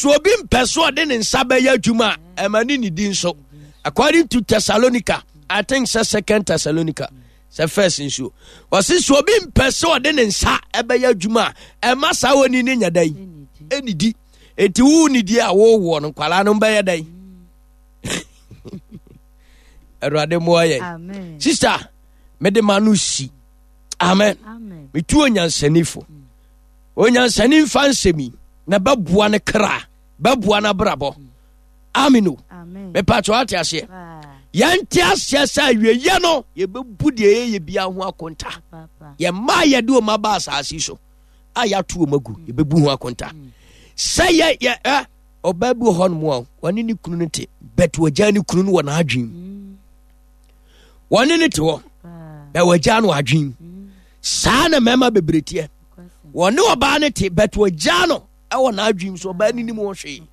So obi mpɛ so ɔde ne nsa bɛyɛ adwuma a, ɛma ne nidi nso. According to Thessalonica, I think sɛ Second Thessalonica, sɛ first nsuo. Ɔse so obi mpɛ sɛ ɔde ne nsa ɛbɛyɛ adwuma a, ɛma saa oni ne nya dɛn? Ɛnidi. Enti wo nidi a wowoɔ no, nkwadaa no bɛyɛ dɛn? Awurade mmoa yɛn. Sister, mede ma no si. Amen. Metu onyansanifo. Onyansani mfa nsɛm yi na bɛboa ne kra, bɛboa n'abrabɔ. Amen o. Mepatwa wate aseɛ. Yɛnte aseɛ sɛ awieyɛ no yɛbɛbu deɛ yɛyɛ biara ho akonta. Yɛn mma a yɛde wɔn aba asase so a yɛato wɔn agu yɛbɛbu ho akonta. Sɛ yɛ yɛ ɛ ɔbaa bi wɔ hɔ nom a wɔne ne kunu no te bɛt wɔgya ne kunu no wɔ n'adwene mu. Wɔne ne te hɔ bɛ wɔgya no adwene mu. Saa na mmarima bebree teɛ. Wɔne ɔbaa no te but wɔgyaa no ɛwɔ n'adwene so ɔbaa no nim ho hwee.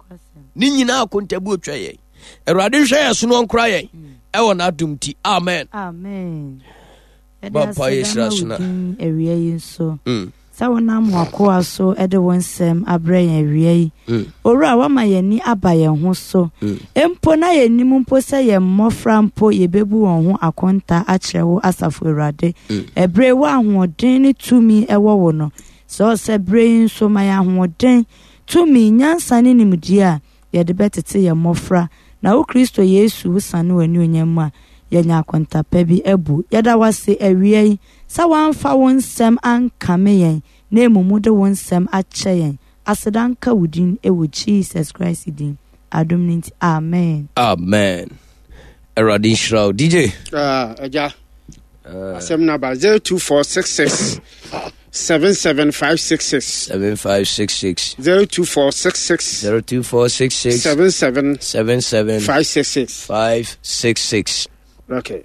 Ne nyinaa akontabu otwa yɛn. Awurade nhwɛ yɛn so no ɔnkora yɛn ɛwɔ n'adom ti. Amen. Amen. Bɔ mpa yɛ hyira so na. Awia yi nso. Mm. Sɛ wonam w'akoa so de wo nsɛm abrɛ yɛn awia yi. Mm. Owura, woama yɛn ani aba yɛn ho so. Mm. Mpo na yɛnnim mpo sɛ yɛn mmɔfra mpo yɛbɛbu wɔn ho akonta akyerɛ wo asafo Awurade. Mm. Ɛberɛ wo ahoɔden ne tumi ɛwɔ wo no, sɛ ɔsɛ berɛ yi nso ma yɛn ahoɔden, tumi, nyansa ne nimdeɛ a yɛde bɛtete yɛn mmɔfra na wo Kristo Yesu wo sane w'anuonyam mu a, yɛanya akonta pa bi abu. Yɛda wo ase awia yi sɛ woamfa wo nsɛm ankame yɛn na mmom wode wo nsɛm akyɛ yɛn. Aseda nka wo din wɔ Jesus Christ din adom no nti, amen. Amen. Awurade nhyira wo DJ. Ah, agya. Uh, Asɛm no aba 02466 77566 7566 02466 02466 77 77 566 566. Okay.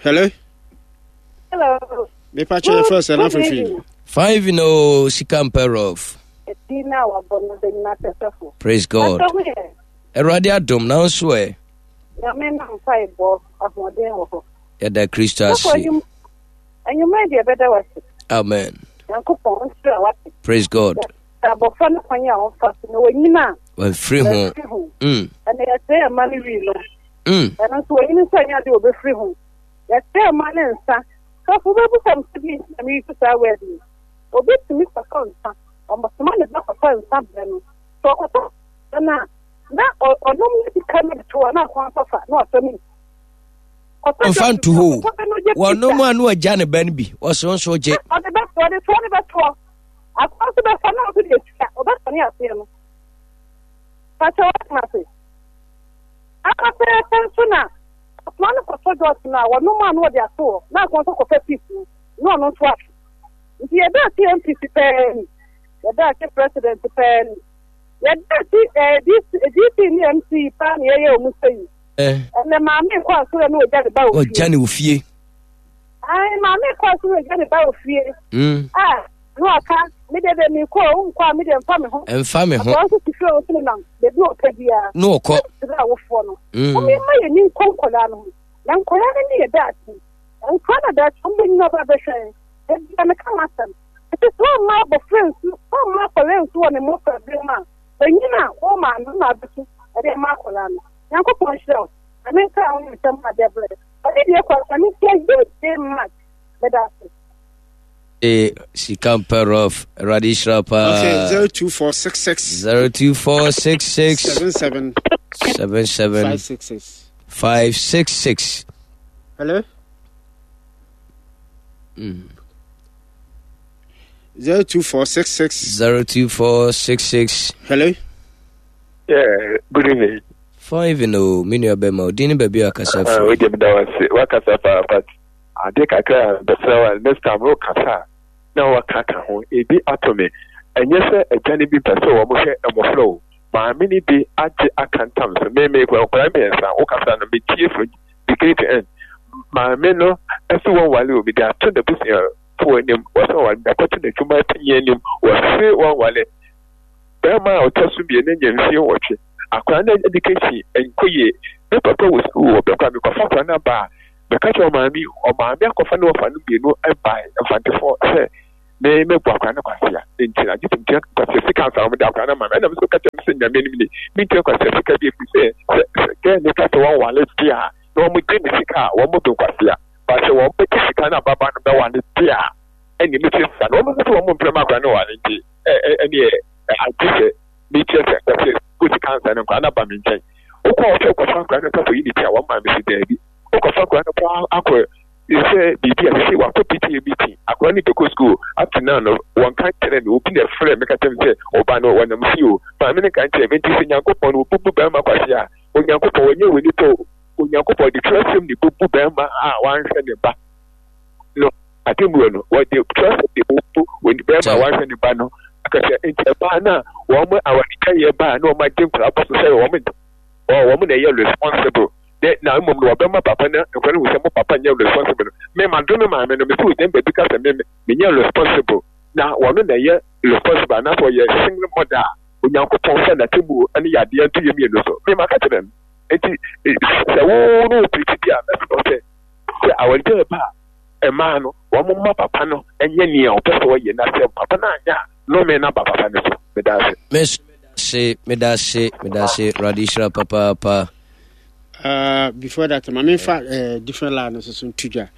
Hello? Hello. Mepa kyɛ yɛfrɛ sɛ na afefi. Five no sika mpɛ rough. Praise God. Awurade adom na nso ɛ. Nyame na mpaebɔ ahoɔden wɔ hɔ. Yɛda Kristo ase. Anwummerɛ deɛ ɛbɛda wase. Amen. Nyankopɔn nhyira wase. Praise God. Abɔfra no kwan a ɔmfa so na wɔnyini a. Wɔmfiri ho. Wɔmfiri ho. Ɛna yɛsɛe ɛma no wii no. Ɛno nso wɔnyini nso ɛnyɛ ade wɔbɛfiri ho. Yɛsɛe ɛma no nsa. Sɔfo wobɛbu sɛ bi nti na meyi so saa word yi. Obi tumi kɔtɔ nsa. Ɔsoma ne ba kɔtɔ nsa brɛ no. Sɛ ɔkɔtɔ nsa no a, na ɔnom ne sika no de to hɔ na akɔn akɔfa na ɔsɔ ne ɔmfa nto hɔ wɔnom a na wagya ne ba no bi ɔsɛ nso gye ɔde bɛtoɔ de toɔ ne bɛtoɔ akɔn nso bɛfa na ɔso de atua ɔbɛsɔne aseɛ no fakyɛ wɔtena ase akɔpɛɛpɛ nso na ɔsoma no kɔtɔ dɔɔso no a wɔnom a na wɔde ato hɔ na akɔn nso kɔfa piis no na ɔno nso ato nti yɛda ase MPC pɛɛ ni yɛda ase president pɛɛ ni yɛda ase DC ne MC paa na yɛyɛ wɔn sɛ yi ɛnɛ maame kɔ asɔrɔ na ɔgya ne ba wɔ fie ɔgya ne wɔ fie ayi maame kɔ asɔrɔ ɔgya ne ba wɔ fie a na waka me de de mi kɔ o nkɔ a me de nfa me ho nfa me ho akɔrɔ nso ti fie ɔso nenam beebi ɔpɛ biara na ɔkɔ ɛsrɛ awofoɔ no wɔn yɛ ma yɛ ni nkɔ nkɔla no ho na nkɔla no ne yɛ daakye nkɔla na daakye wɔn bɛ nyina ɔba bɛhwɛ ebi a meka ma asɛm ɛti sɛ ɔma abɔfra nsu ɔma akɔla nsu wɔ ne mmɔfra bere mu a bɛnyina a wɔn maame na abɛso ɛde ama akɔla no Nyankopɔn nhyira wo. Nyame nka wo ne nsɛm a de abrɛ. Ɔde deɛ kɔ asa ne ntia yie day march. Meda ase. E sika mpɛ rough. Awurade nhyira paa. Okay, 02466 02466 77 77 566 566. Hello? 02466 02466. Hello? Yeah, good evening. Fine evening o, me nua bɛma o, din ne baabi a kasa ah, firi. Wei deɛ meda wo ase, wakasa paa but adeɛ kakra a bɛsrɛ wa next time wokasa a na waka ka ho, ebi ato me. Ɛnyɛ sɛ agya no bi pɛ sɛ wɔn hwɛ mmɔfra o, maame no bi agye aka ntam so, me me nkwadaa mmiɛnsa wokasa no metie from beginning to end. Maame no ɛso wɔn wale o, mede ato n'abusuafoɔ anim, wɔsɛ wɔn wale, mede akɔto n'adwuma panyin anim, wɔse wɔn wale. Barima a ɔtɔ so mmienu anya mfie nwɔtwe. Akwadaa no education nkɔ yie. Ne papa wɔ sukuu wɔ bɛkɔ a mekɔfa akwadaa no aba a, mɛka kyerɛ ɔmaame, ɔmaame akɔfa ne wɔfa no mmienu bae Mfantefoɔ sɛ Me mɛbu akwadaa no kwasea. Nti na gye sɛ metua kwasea sika ansa na wɔde akwadaa no ama me. Ɛna me nso ka kyerɛ me sɛ Nyame anim ni, mentua kwasea sika bi ɛfiri sɛ sɛ sɛ gɛɛ no ka sɛ wɔnwale deɛ a na wɔgye me sika a wɔbɛbu kwasea. Ba sɛ wɔbɛgye sika no ababaa no bɛwale deɛ a ɛne metua sika no. Wɔn nso sɛ wɔn mpɛ ma akwadaa no wale nti ɛneɛ agye sɛ metua sɛ kwasea sika ansa na nkwadaa no aba me nkyɛn. Wokɔ hɔ sɛ wokɔfa akwadaa no sɛ kɔyi ne ti a wɔn maame si daabi. Wokɔfa akwadaa no koraa akɔ sɛ biribi a sisi wakɔ PTA meeting akwadaa no bɛkɔ school up to now no wɔnka nkyerɛ me obi na ɛfrɛ me ka kyerɛ me sɛ ɔba no wɔnam fie o maame no nka nkyerɛ me nti sɛ Nyankopɔn no wɔbubu bɛrima kwase a Onyankopɔn wɔnyɛ wɔ nipa o Onyankopɔn de twerɛsɛm ne bubu bɛrima a wanhwɛ ne ba no atemmuo no wɔde twerɛsɛm de bubu bɛrima a wanhwɛ ne ba no akasɛ nti ɛbaa no a wɔn awaregyaeɛ baa na wɔn agye nkwadaa bɔ so sɛ wɔn wɔn na ɛyɛ responsible dɛ na mbom no wɔbɛma papa no nkwa no hu sɛ mo papa nnyɛ responsible no, me madom me maame no, mese ogyina baabi ka sɛ me menyɛ responsible na wɔno na ɛyɛ responsible anaasɛ ɔyɛ single mother a, Onyankopɔn fa n'atemmuo ne yadeɛ nto yɛ mmienu so. Me maka kyerɛ no. Nti sɛ wo ne wo pirikyi bi a mɛsrɛ wo sɛ sɛ awaregyaeɛ ba a mmaa no wɔn mma papa no nyɛ nea ɔpɛ sɛ ɔyɛ na sɛ papa no anyɛ a nnome no aba papa no so. Meda ase. Me nso meda ase, meda ase, meda ase. Awurade nhyira papaapa. Before that, ma memfa different line no so so nto dwa.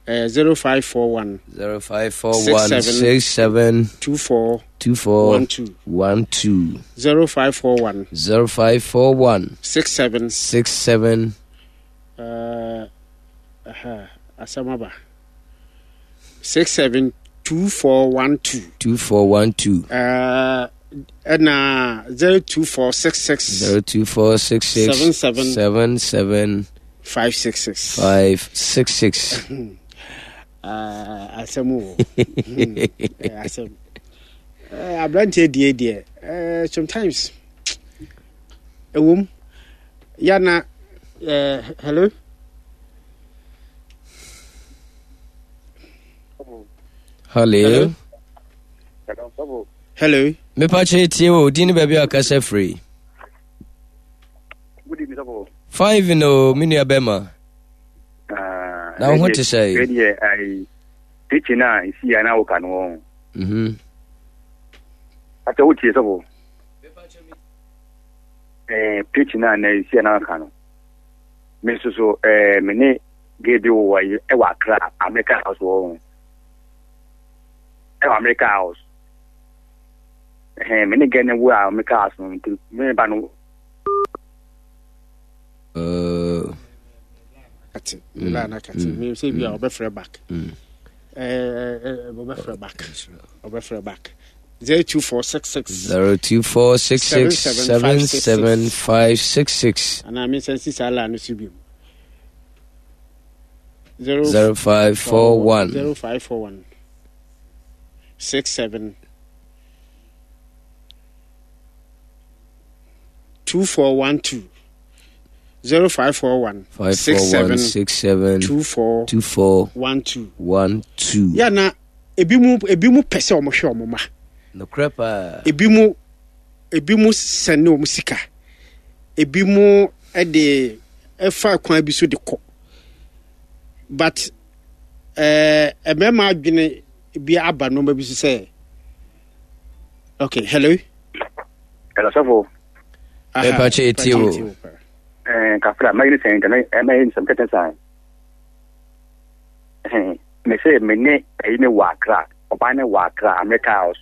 0541 0541 67 24 24 12 12 0541 0541 67 67 asɛm aba 67 2412 2412 ɛna 02466 02466 77 77 566 566 asɛm wɔ asɛm aberanteɛ die deɛ sometimes ɛwom yana hello. Hello. Hello. Mepa kyɛ tie o din ne baabi a kasa firi. Five no me nua bɛma. Ah, Na wo ho te sɛ? Deɛ ayi teaching a esi ya na woka no wɔn. Mhm. Ata wo tie sɔfo. Eh, preaching a na esi ya na woka no. Me nso so eh me ne gay bi wɔ yi ɛwɔ Accra America house wɔ hɔ. Ɛwɔ America house. Ɛhɛn me ne gay ne wɔ America house no nti me ba no. Kate, me ba na kate. Me sɛ bi a ɔbɛfrɛ back. Ɔbɛfrɛ back. Ɔbɛfrɛ back. 02466 02466 77566. Anaa me nsa nsi saa line no so bio. 0541 0541 67 2412 0541 541 67 24 24 12 12. yɛ na ebi mu ebi mu pɛ sɛ wɔn hwɛ wɔn ma. Nokorɛ paa. Ebi mu ebi mu sɛne wɔn sika. Ebi mu de ɛfa kwan bi so de kɔ. But ɛɛ eh, mmarima adwene bi aba nneɛma bi so sɛ okay hello. Hello sɔfo. Ɛpa kyɛ etie o. Ɛɛ kafra mɛyɛ ne sɛn ntɛmɛ ɛmɛyɛ ne sɛm kɛtɛ san. Me se me ne ɛyi ne wɔ Accra, ɔbaa ne wɔ Accra, America house.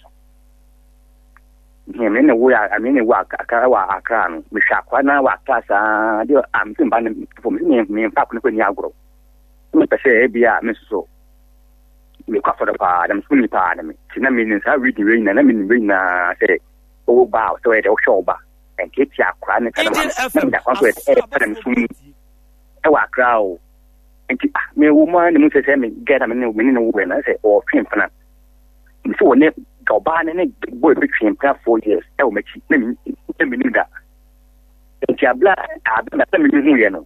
Me ne wo ya, me ne wɔ Accra wɔ Accra no. Me hwɛ akwa na wɔ Accra saa de a me se mba ne fo me se me me mfa akwa ne kɔ ni agorɔ. Me pɛ sɛ ebi a me nso so me kɔ afɔre paa na me so ni paa na me ti na me nim saa reading wei nyinaa na me nim wei nyinaa sɛ ɔwɔ ba a sɛ ɔyɛ dɛ ɔhwɛ ɔba nketewa akora ne saa na ma me da kwan so ɛyɛ pɛ na me so mu ɛwɔ Accra o. Nti ah me wɔ mu ara na mu sɛ sɛ me gɛ na me ne me ne no wɔ na sɛ ɔtwe mpena. Me sɛ wɔne ɔbaa ne ne boy bi twe mpena 4 years ɛwɔ m'akyi na me na me nim da. Nti abla abla na me hu yɛ no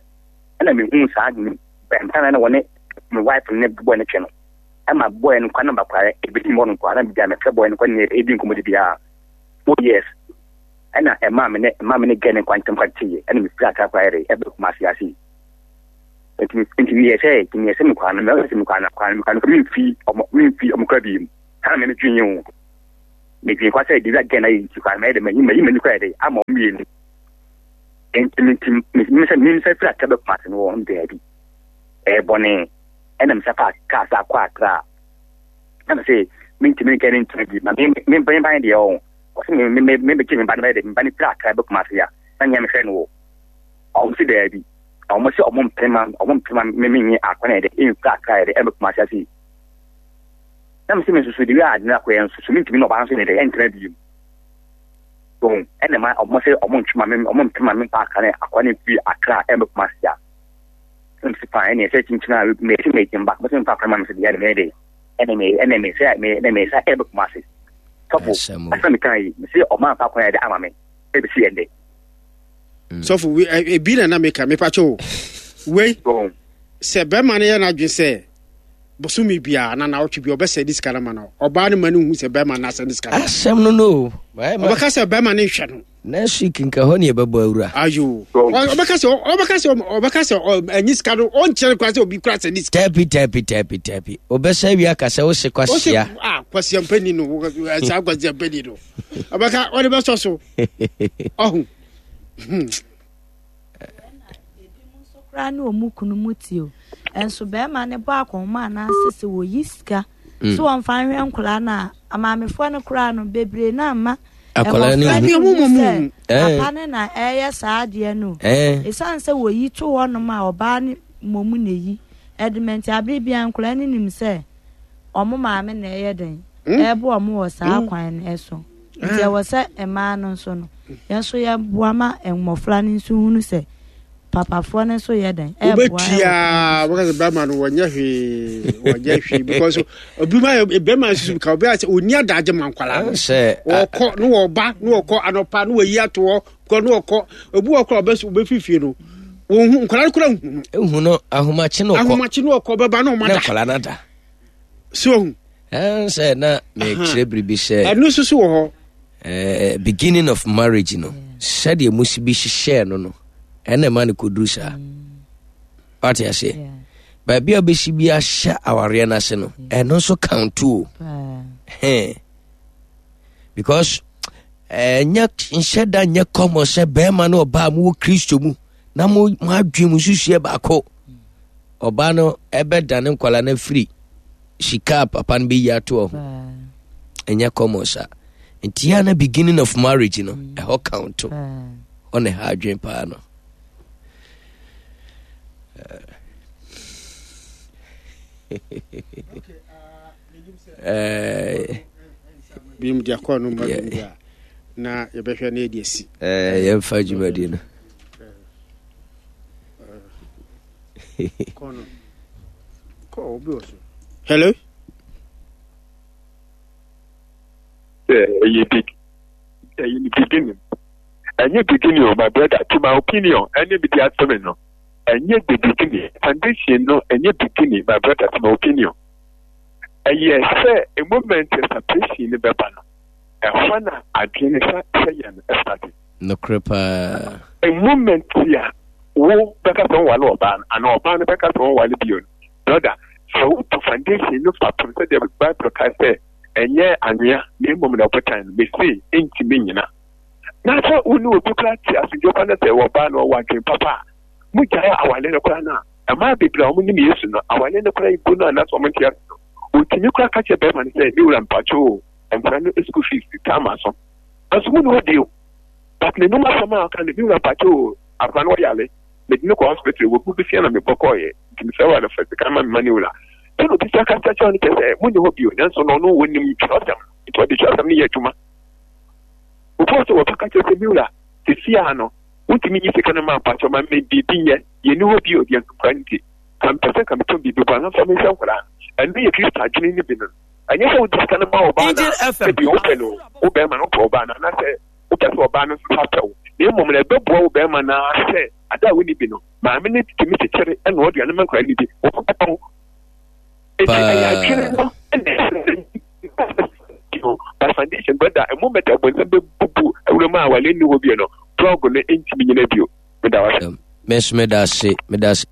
ɛna me hu saa mpena na wɔne me wife ne boy ne twe no. Ɛma boy no kwa na bakware ebi ni mɔ no kwa na bia me frɛ boy no kwa ne ebi nkɔmɔ de bia 4 years. Ɛna ɛma me ne ɛma me ne gɛ ne kwa ntɛm kwa teyɛ ɛna me firi akra kwa yɛre ɛbɛ kuma ase ase. Nti nti meyɛ sɛ nti meyɛ sɛ mekɔ ano meyɛ sɛ mekɔ ano kwan mekɔ ano memfi ɔmo memfi ɔmo kora bi mu. Saa na me dwen o. Me dwen kwa sɛ de wi agɛn na yɛ nti kwa mɛyɛ de mayi mayi m'ani kwa yɛ de ama wɔn mmienu. Nti me nti me me sɛ me sɛ firi akra bɛ Kumasi no wɔn daabi. Ɛyɛ bɔne ɛna me sɛ fa kaa sa akɔ akra. Na me sɛ me ntumi ne kɛne ntumi bi ma me me me ban deɛ ɔn. Ɔsɛ me me me me bɛgye me ba no bɛyɛ de me ba no firi akra bɛ Kumasi a na nea mehwɛ no wɔ. Ɔmo sɛ daabi. Ɔmo sɛ ɔmo mpene ma ɔmo mpene ma me me nye akɔ na yɛ de mfiri akra yɛ de ɛbɛ Kumasi ase. Na me sɛ me nso de wi a ade no akɔyɛ nso so mentumi ne ɔbaa nso ne dɛ ɛntena bio. So ɛna ma ɔmo sɛ ɔmo ntwe ma me ɔmo mpene ma me mfa akra ne akɔ ne mfiri akra ɛbɛ Kumasi a. Na me sɛ fine ɛna ɛsɛ kyinkyin a me sɛ me mba mo sɛ mfa akra ma me sɛ deɛ ɛna me de ɛna me ɛna me sɛ me ɛna me sɛ ɛbɛ Kumasi. Sɔfo asɛm me kan yi me sɛ ɔmo amfa akwan yɛ de ama me ɛbɛsi ɛndɛ. Sɔfo ebi na na meka mepakyɛ o wei sɛ bɛrima no yɛ n'adwene sɛ bosome biara na naawɔtwe bi ɔbɛsɛ ne sika no ma no ɔbaa no ma no hu sɛ bɛrima no asɛ ne sika no asɛm no no ɔbɛka sɛ bɛrima no nhwɛ no next week nka hɔ ne yɛbɛbɔ awura ayo ɔbɛka sɛ ɔbɛka sɛ ɔbɛka sɛ ɛnyi sika no ɔnkyerɛ kora sɛ obi kora sɛ ne sika tabi tabi tabi tabi ɔbɛsɛ wie aka sɛ wose kwasia ah kwasia mpani no saa kwasia mpani no ɔbɛka ɔde bɛsɔ so ɔho hmm. koraa ne ɔmu kunu mu ti o ɛnso bɛrima ne bɔ akɔnma anaasɛ sɛ wɔyi sika mm. so wɔmfa nhwɛ nkwadaa no a amaamefoɔ no koraa no bebree no amma akwadaa no hu sɛ eh. papa no na ɛyɛ saa adeɛ no ɛsiane eh. sɛ wɔyi to hɔnom a ɔbaa no mmom na ɛyi ɛdemɛnti abere biara nkwadaa no nim sɛ wɔn maame na ɛyɛ den hmm? ɛrebo wɔn wɔ saa hmm. kwan no so nti ah. ɛwɔ sɛ mmaa no nso no yɛn nso yɛboa ma mmɔfra no nso hunu sɛ papafoɔ no nso yɛ dɛn ɛboa wobɛtua wɔka sɛ bɛrima no wɔnyɛ hwee wɔnyɛ hwee because obi ma bɛrima nso ka obi asɛ ɔni adagye ma nkwalaa no wɔkɔ ne wɔba ne wɔkɔ anɔpa ne wɔyi ato hɔ kɔ ne wɔkɔ obi wɔ kora ɔbɛfiri fie no wɔhu nkwalaa no kora hu no ehu no ahomakye no ɔkɔ ahomakye no ɔkɔ bɛba na ɔma da nkwalaa no ada so ohu sɛ na mekyerɛ biribi sɛ ɛno nso so wɔ hɔ beginning of marriage no sɛdeɛ musi bi hyehyɛɛ no no ɛna ɛma no kɔduru saa wate aseɛ baabi a wobɛsi bi ahyɛ awareɛ no ase no ɛno nso count o because ɛnyɛ nhyɛ da nyɛ common sɛ bɛrima ne ɔbaa mowɔ kristo mu na mo adwene mu nsusuɛ baako ɔbaa no ɛbɛdane nkwala no afiri sika a papa no bɛyi ato ho ɛnyɛ common saa nti yɛ na beginning of marriage no mm. ɛhɔ count hɔ na ɛha adwene paa no binom de akɔ no ma bi a na yɛbɛhwɛ na yɛde asi yɛmfa dwumadi no hello ɛyɛ big ɛyɛ ne beginning ɛnyɛ beginning o my brother to my opinion ɛne mi di asɛm no ɛnyɛ the beginning foundation no ɛnyɛ beginning my brother to my opinion ɛyɛ sɛ a moment separation no bɛba no ɛhɔ na adwene sɛ sɛ yɛ no ɛsate. Nokorɛ paa. A moment a wo bɛka sɛ wonwale ɔbaa no anaa ɔbaa no bɛka sɛ wɔnwale bio no, brother, sɛ woto foundation no fapem sɛdeɛ Bible ka sɛ ɛnyɛ anwea na mmom na ɔbotan no, mese ɛntumi nnyina. Na sɛ wo ne obi koraa te asomdwoe pa na sɛ ɔbaa no ɔwɔ adwene papa a, mogyae awale no koraa no a, mmaa bebree a wɔnim Yesu no, awale no koraa gu no anaasɛ wɔnte ase no, wɔtumi koraa ka kyerɛ bɛrima no sɛ, me wura mpakyɛ o, nkwadaa no school fees taa ma so. Nanso mu ni hɔ bio. But n'anum asɛm a ɔka no, me wura mpakyɛ o, akwadaa no ɔyare, mede no kɔ hospital, wɔbu besia na mebɔ kɔɔeɛ, nti mesrɛ wo anɔfa sika ma me ma ne wura. Sɛdeɛ obi sa kasa kyerɛ no kyerɛ sɛ mu ni hɔ bio, nanso no ɔno wɔnim twerɛsɛm no, nti ɔde twerɛsɛm no yɛ adwuma. Obi wɔ sɛ wɔbɛka kyerɛ sɛ me wura, sesia no, wontumi nyi sika no ma mpakyɛ ma me biribi nyɛ, yɛni hɔ bio deɛ nkwadaa nti, ka mpɛ sɛ nka metɔn biribi bɔ anamfa menhwɛ nkwadaa no. Ɛno yɛ Kristo adwene no bi no. Ɛnyɛ sɛ wode sika no ma ɔbaa no a, sɛbi wopɛ no, wo bɛrima no wopɛ ɔbaa no anaasɛ wopɛ sɛ ɔbaa no nso sa pɛ wo, na mmom no ɛbɛboa wo bɛrima no ara sɛ ade a wonni bi no, maame no tumi kyekyere na ɔde ano ma nkwadaa no bi, wɔbɛka ho. Enti ɛyɛ adwene no na ɛsɛ by foundation brother, a moment a bɔnsam bɛbubu awura mu a awale nni hɔ bio no, blog no ntumi nyina bio. Meda wo ase. Me nso meda ase, meda ase.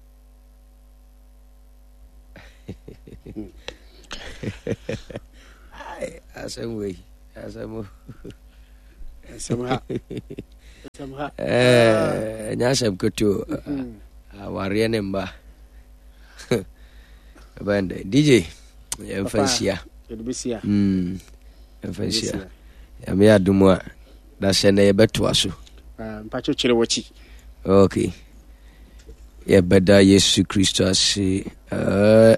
Asɛm wei asɛm o. Asɛm ha. Asɛm ha. Ɛnyɛ asɛm ketewa. Awareɛ ne mma. Ɛbɛn dɛ. DJ yɛmfa nhyia. Yɛmfa nhyia. Nyame adom a na sɛ na yɛbɛtoa so. Mpakyɛ kyerɛ w'akyi. Okay. Yɛbɛda Yesu Kristo ase.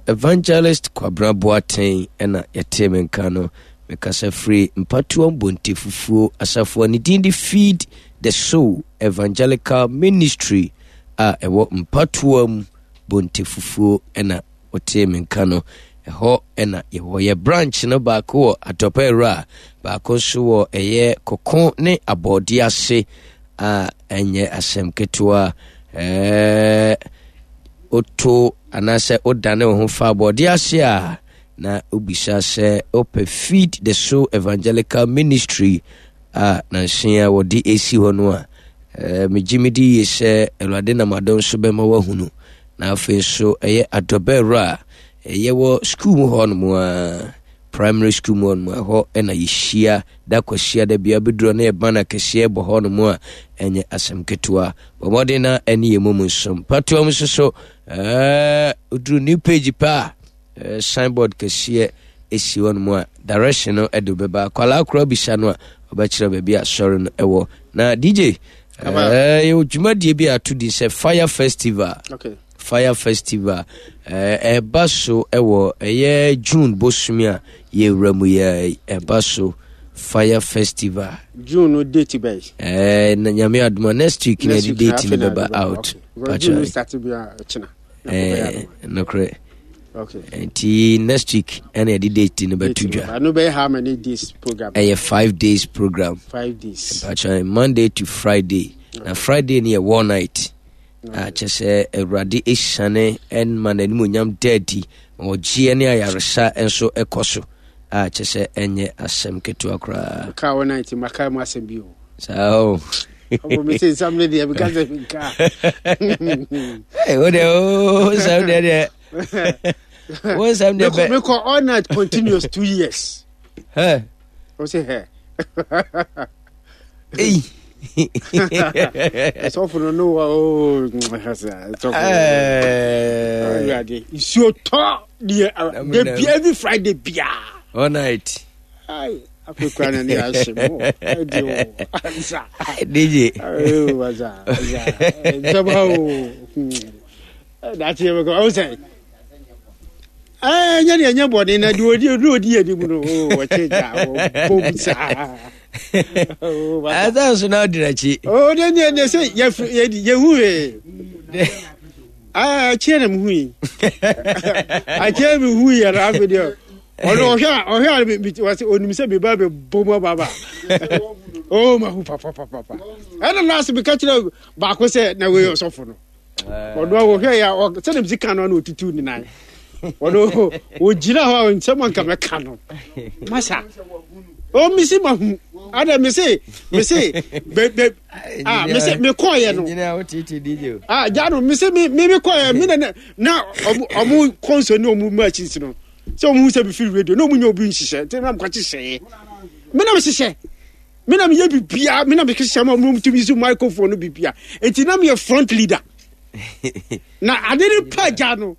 Evangelist Kwabena Boateng ɛna yɛtee me nka no. Mekasa firi Mpatoa Mbonte Fufuo asafo a ne din de Feed the Soul Evangelical Ministry a ɛwɔ Mpatoa mu Bonte Fufuo ɛna wotee me nka no. Ɛhɔ ɛna yɛwɔ yɛ branch no baako wɔ Atɔpɛ Awura, baako nso wɔ ɛyɛ Koko ne Abɔɔde ase a ɛnyɛ asɛm ketewa. Ɛɛ woto anaasɛ wodane wo ho fa abɔɔde ase a na wobisa sɛ wopɛ Feed the Soul Evangelical Ministry a nanse a wɔde esi hɔ no a, megye medi yie sɛ Awurade nam adom so bɛma woahunu. Na afei nso ɛyɛ adɔbɛwura a ɛyɛ wɔ sukuu mu hɔ nom a, primary school mu hɔ nom, ɛhɔ na yɛhyia da kwasia da bia bɛduru na yɛba no akɛseɛ bɔ hɔ nom a, ɛnyɛ asɛm ketewa. Bɔ mmɔden na ɛne yɛ mu mu nsom. Patoa mu nso so, woduru new page pɛ a, signboard kɛseɛ ɛsi hɔ nom a, direction no ɛde bɛba. Akwadaa koraa bisa no a, ɔbɛkyerɛ baabi a sɔre no ɛwɔ. Na DJ, yɛwɔ dwumadie bi a ato din sɛ Fire Festival. Okay. Fire Festival ɛba so ɛwɔ ɛyɛ June bosome a yɛwura mu yɛ ɛba so Fire Festival. June no date bɛyi. Ɛɛ na nyame adoma next week na ɛde date no bɛba out. June start bi a ɛkyina. Ɛɛ nokorɛ. Okay. Nti next week ɛna yɛde date no bɛto dwa. Ɛno bɛyɛ how many days program? Ɛyɛ 5 days program. 5 days. Mpakyɛ Monday to Friday. Na Friday no yɛ war night. A kyɛ sɛ Awurade esiane ma n'animonyam da adi, ma ɔgyeɛ ne ayaresa nso ɛkɔ so. A kyɛ sɛ ɛnyɛ asɛm ketewa koraa. Ka war night maka mu asɛm bi o. Saa o. Ɔbɔ mi sɛ nsɛm no deɛ meka sɛ menka. Hey, wo deɛ o nsɛm deɛ deɛ. Wo nsɛm deɛ bɛ. Mekɔ all night continuous 2 years. Hey. O sɛ hɛ. Ei. Ɛsɔfo no no wa o ɛsɔfo. Awurade nsuo tɔ deɛ de bi every Friday bia. All night. Ai afei kura na ne ahye mo ɛdi o ansa. DJ. Ayo asa asa nsɛm ha o. Dati yɛ bɛ kɔ ɔwɔ sɛ. Ɛɛ nyɛ deɛ nyɛ bɔne na deɛ odi odi odi yɛ nimu no o wɔkye gya wɔbom saa. Ɛsɛ nso na ɔdi n'akyi. O ne ne ne sɛ yɛfiri yɛdi yɛhu hwee. Akyire na mehu yi. Akyire mehu yi yɛrɛ afei deɛ ɔno ɔhwɛ a ɔhwɛ a mi wɔsɛ onim sɛ mi ba bɛ bom aba ba. O ma hu papapapa. Ɛna last mi ka kyerɛ baako sɛ na wei ɔsɔfo no. Ɔno a wɔhwɛ yɛ a sɛdeɛ mesi ka no na ɔtutu ne nan. Ɔno ɔgyina hɔ a nsɛm anka mɛka no masa. O mesi ma hu ada mese mese bɛ bɛ ah mese mekɔɔyɛ no. Ah gya no mese me me mekɔɔyɛ me na na ɔmo ɔmo kɔnsɔ ne ɔmo machines no sɛ ɔmo hu sɛ mefiri radio na ɔmo nya obi nhyehyɛ nti na mekɔkye hyɛɛ me na mehyehyɛ. Me na meyɛ biribiara, me na mehyehyɛ ma ɔmo tumi so microphone no biribiara. Enti na meyɛ front leader. Na ade no pa gya no.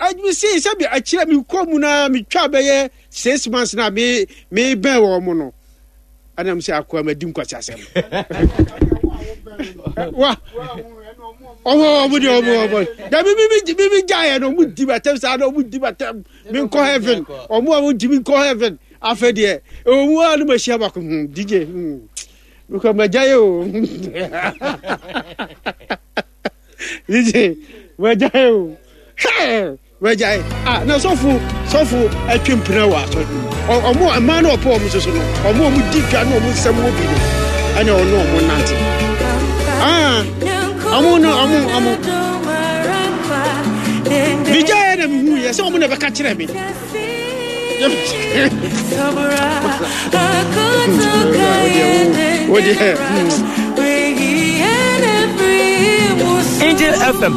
Adwuma sei sɛ bi akyerɛ me kɔ mu na metwa bɛyɛ 6 months na me me bɛn wɔn mo no. Ɛna mo sɛ akoa ma di nkwasi asɛm. Wa ɔmo ɔmo deɛ ɔmo ɔmo dabi mi mi mi mi gya yɛ no ɔmo di ma tɛm saa na ɔmo di ma tɛm mi nkɔ heaven ɔmo a ɔmo di mi nkɔ heaven. Afei deɛ ɛwɔ mu a no mahyia baako DJ mekɔ magya yɛ o DJ magya yɛ o hwɛ magya yɛ ah na sɔfo sɔfo atwe mpena wɔ asɔre no mu ɔmo mmaa no ɔpɔ ɔmo soso no ɔmo ɔmo di dwa ne ɔmo nsɛm wɔ bi no ɛna ɔno ɔmo nante ah ɔmo no ɔmo ɔmo megya yɛ na mehu yɛ sɛ ɔmo na ɛbɛka kyerɛ me. Angel FM.